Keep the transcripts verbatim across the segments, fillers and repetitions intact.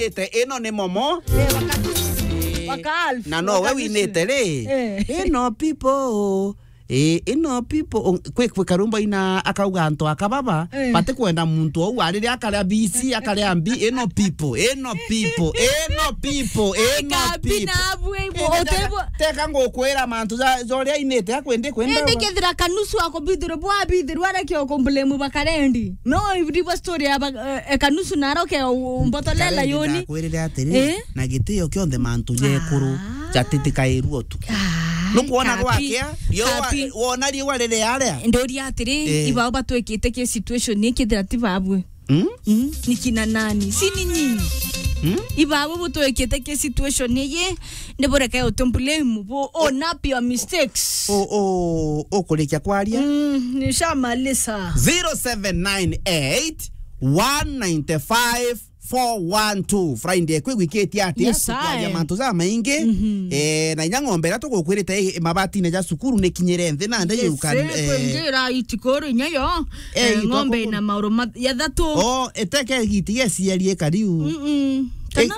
Ite, ino ni momo. Eh, waka-, waka Alf, na no we waka nusu. Winite ri? Eh. Ino people. Eh, ino people. O, kwi, kwi karumbo ina akauga antu aka baba, eh, bati kwenda muntu ou arire akaria B C, akaria mbi, ino people, ino people, ino people, ino people. Kabina abwe ibo, eh, otebo. Teka ngukwira mantu ja, ja uria ainite akwende kwenda. Indi kethira kanusu akubithirwa bwabithirwa areke ukumblame bakarendi. No, ibdibo story ya ba-, eh, kanusu naroke u-, umbotolela yoni. Ndakwirire atiri, eh? Na gitio kionthe mantu jekuru, ah, jatitikairua utuku. Ah, nukwona kapi, gwakia, riua, kapi. Wona riua riri aria. Ndoria atiri, eh, ibao batwikite ki situation ni kithira ti babwe. Mm? Mm, ni kina nani? Si ni nyinyi? Mm? Ibabo butwikite ki situation iyi, ni bureke utumblame, bu own up your mistakes. O, o, ukurikia kwaria? Mm, nishamalisa. Zero seven nine eight, one nine five, four one two. Friday kwi wiki iti atia? Yes, tukwaria I. Mantu ja maingi. Mhm. Eh, na inya ng'ombe iria tugukwirite i, mabatine ja cukuru ni kinyire nthi na nde. Yes, yuka, eh, eh, kwingira itikuru inya yo. Eh, eh, ng'ombe ina mauru ma-, ya thatu. Oh, eteke giti yesiarie kariu. Mm-mm. Kana?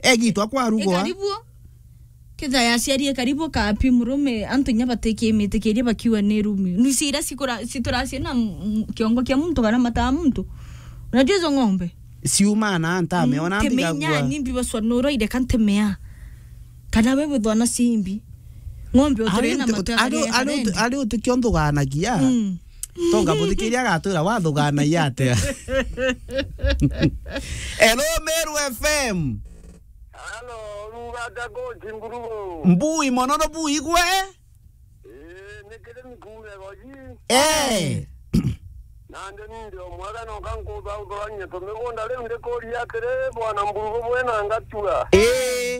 Eh, egitwa kwa rugo. Karibu. Ketha yaciarie karibu kapi murume, antu inya batikimitikirie bakiuga ni rumi. Nusi iria cikura-, cituracia na m-, m-, kiongo kia muntu kana mata ma muntu. Unajua hizo ng'ombe? Ciuma na ntameona. Mm, mbiga temenya gua. Ni mbi baswa nuro ire kantemea. Kana we buthwa na simbi. Ng'ombe utire na mata ari, ari, ari uti-, ari utikio nthuganagia. Mm. Tonga buthikiri agatwira wathuganagia atia. Hello, Meru F M. Halo, ruga atia coach Mburugu? Mbui mono no mbui gwe? Ii, ni kirimi kuume goji. Eh. Nandi ni ndi o mwega no kankutha uthuranie tumigunda riu ndikuria atiri, bwana Mburugu bwina ngatua. Ii.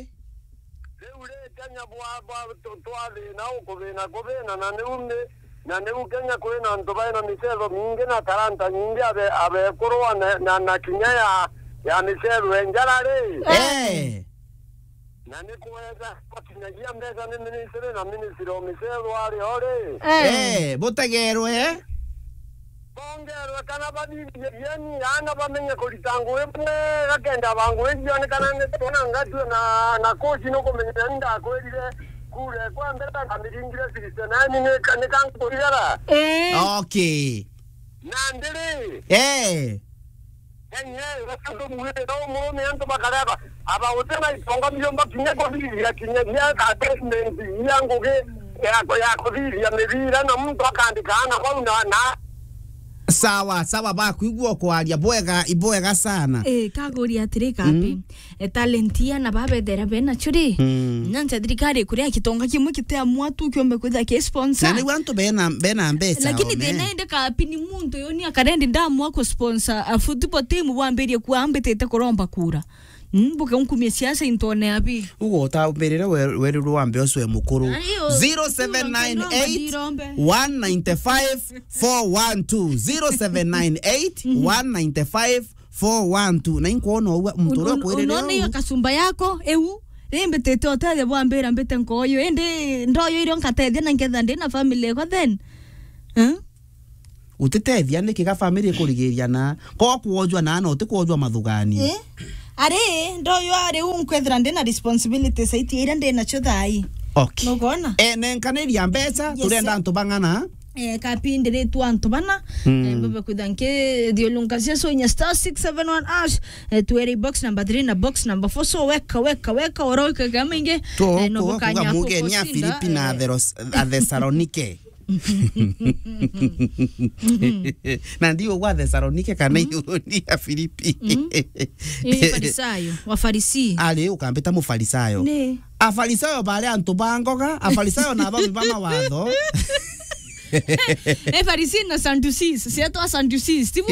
Riu ri Kenya bwa, bwa tu-, twathina ukuthina kuthina na niu ni Na niu Kenya kwina antu baina micetho mingi na talanta nyingi abe-, abekuru na, na, na kinya ya, ya micetho ya njara ri. Eh. Na ni kwega bakinyagia mbeca ni ministry na ministry o micetho ari o ri. Eh. Eh, butegerwe. Bongerwe kana bathithie bieni, ana bamenye kurita ngugi bwega kenda ba ngugi cionekana ni twona ngatue na, na coach nukumenya ni ndakwirire. Kura kwa mbere ndamiringire sixty nine ni ka-, ni kankurigara. Eh. Okay. Na ndiri. Eh. Enye, gasandu mwire, no murume antu bakareba, aba utena itonga biomba kinya kuthithia kinya bia attachment, bia ngugi ya, ya kuthithia mibira, na muntu akandika ana bau na, na. Sawa, sawa, bakwigua kwaria bwega, ibwega sana. Eh, kaguria atiri kapi. Mm. E, talent ya na babethera bena churi. Mm. Nyancha thirikari kuria kitonga kimwe kiteamua tu kiombe kwitha ki sponsor. Na niu antu bena, bena mbeca. Lakini ome. Thina ende kapi ni muntu yoni akarendi ndamua ku sponsor a football team bwambirie kuambitite kuromba kura. Mm, buke unkumie siasa intone abi. Ugo utambirire we-, weruru wambe ucwe mukuru. Ayo, zero seven nine eight, one nine five, four one two. Zero seven nine eight, one nine five, four one two. Na inkwona uwa muntu uria kwirire unone iyo kasumba yako, eu, rimbitite utethia bwambira mbite nkoyo, indi ndoyo irio nkatethia na nketha ndi na family yakwa then. Eh? Utitethia niki ga family ikurigiria na ko kwojwa na na utikwojwa mathugani. Eh? Ari, ndoyo ari u nkwethira ndi na responsibility saiti iria ndi nacio thai. Okay. Nugona? Eh, nenkaniria mbeca, yes, turenda sir, antu bang'ana. Eh, kapi ndiritwa antu bana. Mm. Eh, mbebe kwitha nkithiulunkacia so inya star six seven one hash, eh, twere box number three na box number four. So weka, weka, weka, oro weka kama ingi. To, eh, no ko, bukanya kuga muge ni kusinda, Afilipi na eh, Atheros-, Athesalonike. Na ndi ugwa Athesalonike kana, mm, iguru ni Afilipi. Mm. Ii Farisayo, Wafarisi. Ari ukambita Mufarisayo. Ni. Afarisayo bari antu ba ngoga, Afarisayo na babi ba mawatho. E Farisi na Sadducees, sietwa Sadducees, tibu?